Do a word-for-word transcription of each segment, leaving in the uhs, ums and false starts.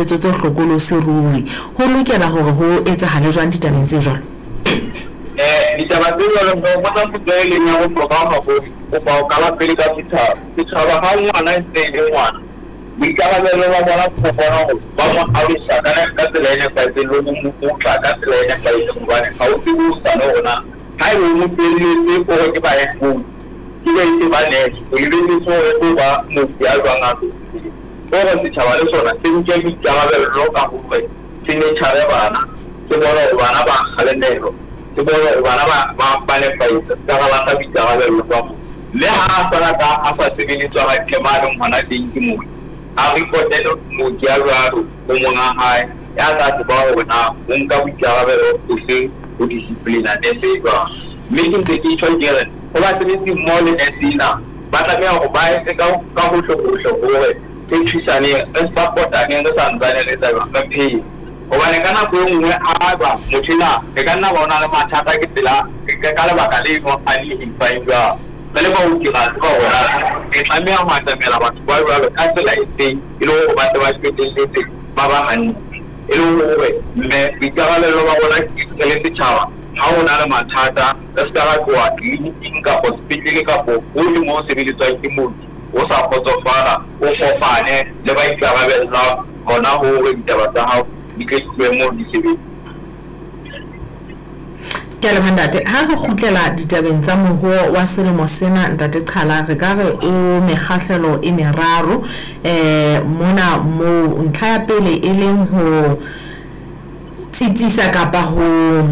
Tse hlokolosi ruri ho lokela hore ho etsahale jwang ditabeng tse jwalo? um ditaba tse jwalo botsa potso e leng ya bohlokwa haholo. Kopa ho qala pele ka setjhaba. Setjhaba ha ngwana e ntse e le ngwana, boikarabelo ba bona ke ho bona hore ba mo alosa ka ka tsela e nepahetseng le ho mo otla ka tsela e nepahetseng, hobane ha o tsebe hosane hore na ha ebe o mo tlohelletse o re ke ba headphone ke be se ba nurse, o lebelletse hore e tlo ba mooki a jwang a tlo. Hore setjhaba le sona se nke boikarabello ka hore se nurture bana, se bone hore bana ba kgalemelwa, se bone hore bana ba ba ba nepahetse, se ka ra lahla boikarabello ba bona. Mme ha a sala ka a sa sebeletswa hantle mo a leng hona teng ke mooki, a report-ele mooki ya jwalo ho monga hae ya tla tseba hore na o nka boikarabelo bofeng ho discipline-a nurse e jwang. Mme ke ntse ke tjho ke re ho basebetsi mmoho le nurse ena, ba tlameha hore ba etse ka ka hohle hohle hore re thusaneng, re support-aneng, re santsane re etsa jwang, re phele. Hobane ka nako e nngwe haeba motho ena e ka nna ba o na le mathata ke tsela ka lebaka leno a di jwang. Re le baoki ra tseba hore na re tlameha ho atamela batho ba jwalo ka tsela e feng e le hore ba tle ba qetelletse ba ba hantle. E le hore mme boikarabello ba rona re le setjhaba, ha ho na le mathata re ska ra tloha tleliniking kapo sepetlele kapo hohle moo ho sebeletswang ke mooki o sa kgotsofala, o kopane le ba ikarabellang hona hore ditaba tsa hao di tle di tlohe moo di sebetse. Ke a leboha ntate. Ha re kgutlela ditabeng tsa moruo wa selemo sena, ntate Qhala, re ka re o mekgahlelo e meraro um mona moo ntlha ya pele e leng ho tsitsisa kapa ho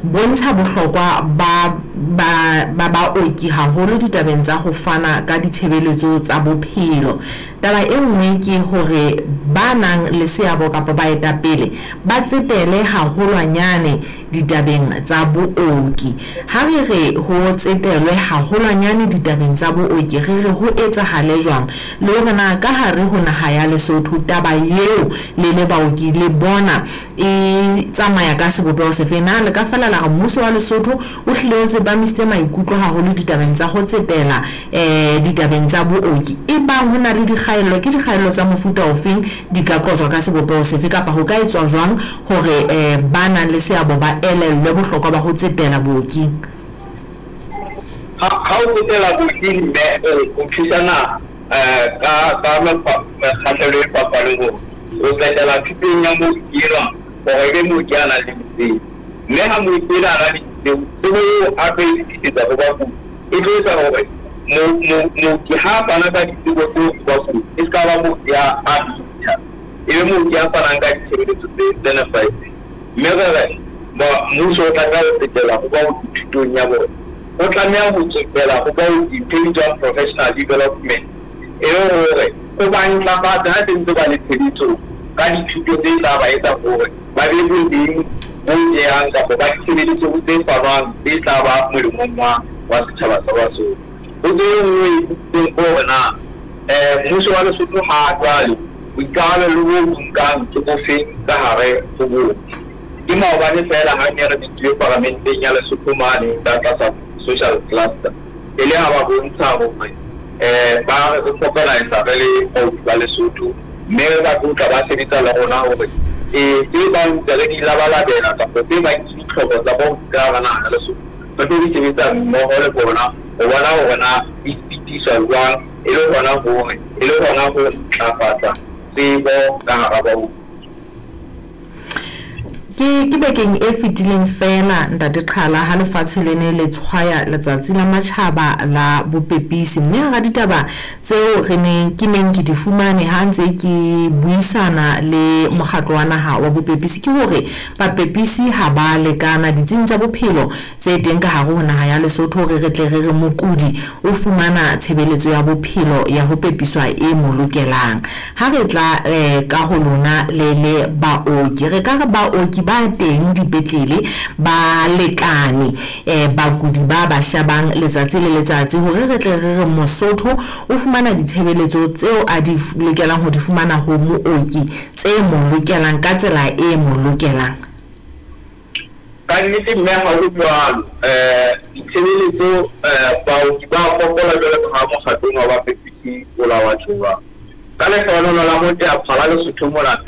bontsha bohlokwa ba ba ba baoki haholo ditabeng tsa ho fana ka ditshebeletso tsa bophelo. Taba e nngwe ke hore ba nang le seabo kapa baetapele ba tsetele haholwanyane ditabeng tsa booki. Ha re re ho tsetelwe haholwanyane ditabeng tsa booki, re re ho etsahale jwang? Le hore na ka hare ho naha ya Lesotho taba eo le le baoki le bona e tsamaya ka sebopeho sefe? Na le ka fela la re mmuso wa Lesotho o hlile o tsepamisitse maikutlo haholo ditabeng tsa ho tsetela um ditabeng tsa booki? Ebang ho na le dikgaello, ke dikgaello tsa mofuta ofeng, di ka qojwa ka sebopeho sefe kapa ho ka etswa jwang hore um ba nang le seabo ba elellwe bohlokwa ba ho tsetela booking? Ha ha o tsetela booking mme o thusa naha um ka ka mekgahlelo e fapaneng hore o tsetela thutong ya mooki enwa hore ebe mooki a nang le ditsebo. Mme ha mooki enwa a na le ditsebo, tsebo eo a tlo e fetisetsa ho bakudi e tlo etsa hore mooki ha a fana ka ditsebo tseo ho bakudi e ska ba mooki a a bitha, e be mooki a fanang ka ditshebeletso tse tse nepahetseng. Mme re re mmuso o tlameha ho tsetela ho baoki thutong ya bona, o tlameha ho tsetela ho baoki ntho e bitswang professional development, e le hore o ba ntlafatse ha se ntse ba le tshebetsong ka dithuto tse tla ba etsa hore ba be boleng bo jehang kapa ba ditshebeletso tse fanwang tse tla ba molemong wa wa setjhaba sa Basotho. Potso e nngwe e butseng ke hore na um mmuso wa Lesotho ha jwale boikarabelo bo bo nkang ke bofeng ka hare ho booki? Ke maobane feela ha ne re bitswe paramenteng ya Lesotho mane ka tlasa social cluster, e le ha ba bontsha hore um ba re organisa re le baoki ba Lesotho, mme ba tlo tla ba sebetsa le rona hore ee tse bang ntse re di labalabela kapa tse bang ke ditlhoko tsa baoki ka hara naha ya Lesotho, re tlo di sebetsa mmoho le bona ho bona hore na di fetiswa jwang, e le hona hore e le hona ho ntlafatsa tsebo ka hara baoki. Ke ke bekeng e fetileng feela ntate Qhala ha lefatshe le ne le tshwaya letsatsi la matjhaba la bopepisi, mme hara ditaba tseo re neng ke neng ke di fumane ha ntse ke buisana le mokgatlo wa naha wa bopepisi ke hore bapepisi ha ba lekana ditsing tsa bophelo tse teng ka hare ho naha ya Lesotho hore re tle re re mokudi o fumana tshebeletso ya bophelo ya ho pepiswa e mo lokelang. Ha re tla eh, ka ho lona le le baoki, re ka re baoki ba teng dipetlele ba lekane eh bakudi ba ba shabang letsatsi le letsatsi hore re tle re re Mosotho o fumana ditshebeletso tseo a di lokelang ho di fumana ho mooki tse mo lokelang ka tsela e mo lokelang? Ka nnete mme ha ho jwalo. um Ditshebeletso um baoki ba fokola jwalo ka ha mokgatlong wa bapepisi o la wa tjho jwalo. Ka lehlohonolo la moteaphala Lesotho mona pele